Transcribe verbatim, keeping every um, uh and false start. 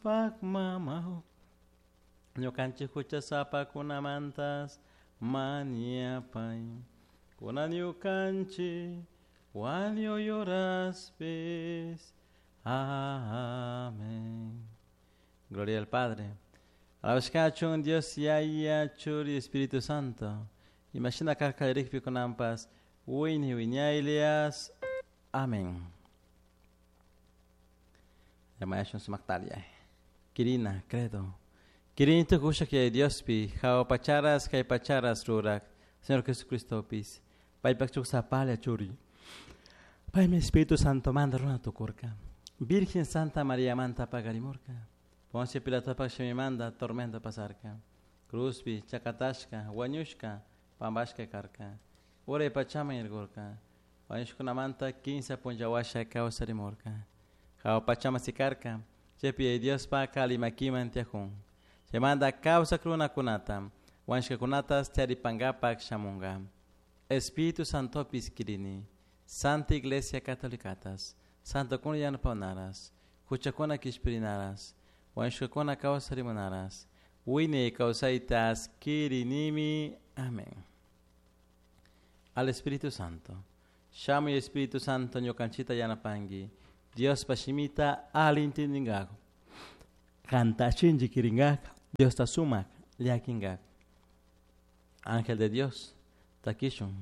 Diospak mama ñukanchik huchasapakunamantas mañapay kunan ñukanchik wañuy horaspis. Amén. Gloria al Padre. Alabashkachun Dios Yaya Churi Espíritu Santo. Imashina karka kunanpas wiñay wiñaylias. Amén. Llamayashun sumaktalia. Kirina, credo. Kirini tukushak Yaya Diospi, jahua pacharas kay pacharas rurak, Señor Jesucristopis, paypak chuksapalla churi. Paymi Espíritu Santo manda runa tukurka. Virgen Santa María manta pagarimurka. Poncio Pilatopak shimimanta tormento pasarka. Cruzpi, chakatashka, wañushka, pampashka karka. Uray pachaman yaykurka. Wañushkunamanta kinsa punlla washa kawsarimurka. Jahua pachaman sikarka. Chaypi Yaya Diospak ali makiman tiyakun. Chaymanta kawsak runakunata, wañushkakunatas tiyaripankapak shamunka. Espíritu Santopis kirini, Santa Iglesia Catolicatas, Santokuna yanapanaras, huchakuna kishpirinaras, wañushkakuna kawsarimunaras, wiñay kawsaytas kirinimi. Amén. Al Espíritu Santo. Shamuy Espíritu Santo ñukanchita yanapanki. Diospa shimita ali intindinkaku. Kanta shinchi kirinkak. Diosta sumak llakinkak. Ángel de Dios, takishun.